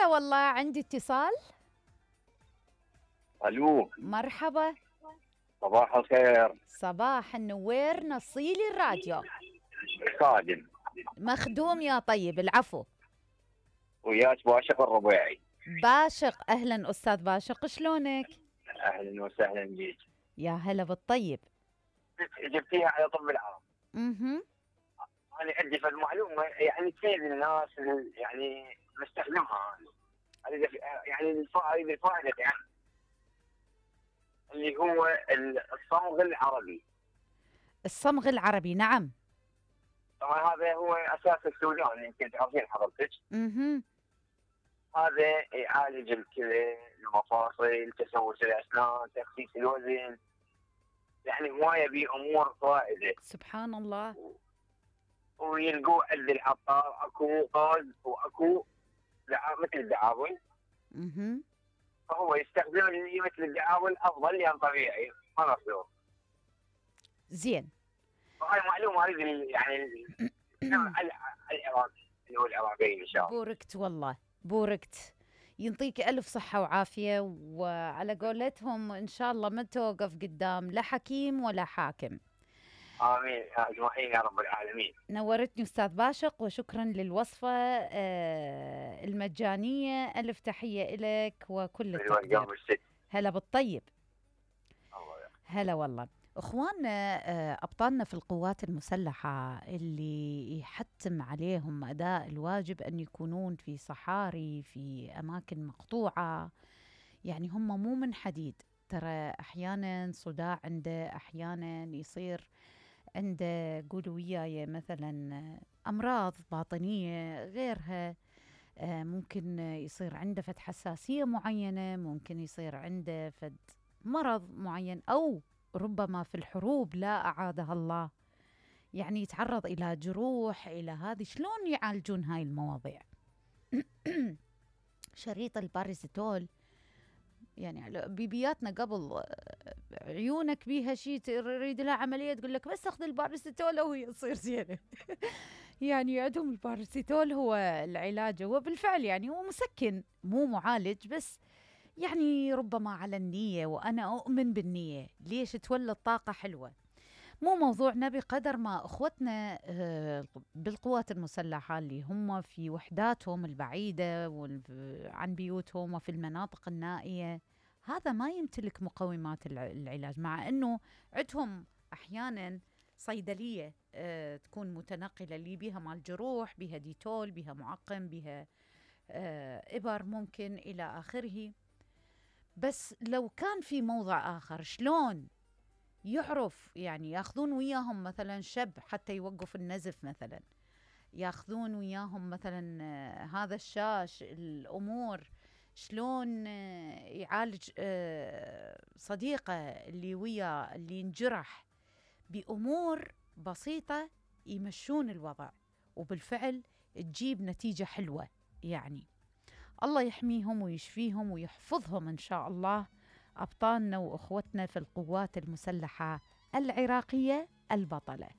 هلا والله، عندي اتصال. الو، مرحبا. صباح الخير. صباح النوير، نصيلي الراديو. خادم. مخدوم يا طيب، العفو. وياك باشق الربيعي. باشق، اهلا استاذ باشق، شلونك؟ اهلا وسهلا بيك. يا هلا بالطيب. جبتيها على طب العرب. اها. انا عندي في المعلومه يعني تفيد الناس يعني نستخدمها. هذه يعني الفائده يعني اللي هو الصمغ العربي. الصمغ العربي، نعم. طبعا هذا هو اساس السودان، يمكن تعرفين حضرتك. اها. هذا يعالج الكلى، المفاصل، تسوس الاسنان، تخسيس الوزن، يعني هوايه بامور فائده. سبحان الله. ويلقوه عند العطار، اكو غاز واكو مثل الدعابل. اها. فهو يستخدم اللي مثل الدعابل افضل لان طبيعي ما مصدوم. زين. وهاي معلومه اريد يعني العراق اللي هو العراقيين ان شاء الله. بوركت والله، بوركت. ينطيك ألف صحة وعافية، وعلى قولتهم إن شاء الله ما توقف قدام لا حكيم ولا حاكم. امين اجمعين يا رب العالمين. نورتني أستاذ باشق، وشكرا للوصفة المجانية. ألف تحية إلك وكل التقدير. هلا بالطيب. هلا والله. اخواننا ابطالنا في القوات المسلحه اللي يحتم عليهم اداء الواجب ان يكونون في صحاري، في اماكن مقطوعه، يعني هم مو من حديد. ترى احيانا صداع عنده، احيانا يصير عنده، قولوا وياي، مثلا امراض باطنيه غيرها. ممكن يصير عنده فد حساسيه معينه، ممكن يصير عنده فد مرض معين، او ربما في الحروب لا أعادها الله يعني يتعرض إلى جروح، إلى هذه. شلون يعالجون هاي المواضيع؟ شريط الباراسيتول، يعني بيبياتنا قبل عيونك بيها شيء تريد لها عملية تقول لك بس اخذ الباراسيتول وهي تصير زينة. يعني عندهم الباراسيتول هو العلاج، هو بالفعل يعني هو مسكن مو معالج، بس يعني ربما على النية، وأنا أؤمن بالنية. ليش تولد طاقة حلوة؟ مو موضوعنا بقدر ما أخوتنا بالقوات المسلحة اللي هم في وحداتهم البعيدة عن بيوتهم وفي المناطق النائية، هذا ما يمتلك مقومات العلاج، مع أنه عندهم أحيانا صيدلية تكون متنقلة اللي بها مال جروح، بها ديتول، بها معقم، بها إبر ممكن إلى آخره. بس لو كان في موضع آخر، شلون يعرف يعني ياخذون وياهم مثلا شب حتى يوقف النزف، مثلا ياخذون وياهم مثلا هذا الشاش، الأمور شلون يعالج صديقه اللي وياه اللي ينجرح بأمور بسيطة، يمشون الوضع وبالفعل تجيب نتيجة حلوة. يعني الله يحميهم ويشفيهم ويحفظهم إن شاء الله، أبطالنا وأخوتنا في القوات المسلحة العراقية البطلة.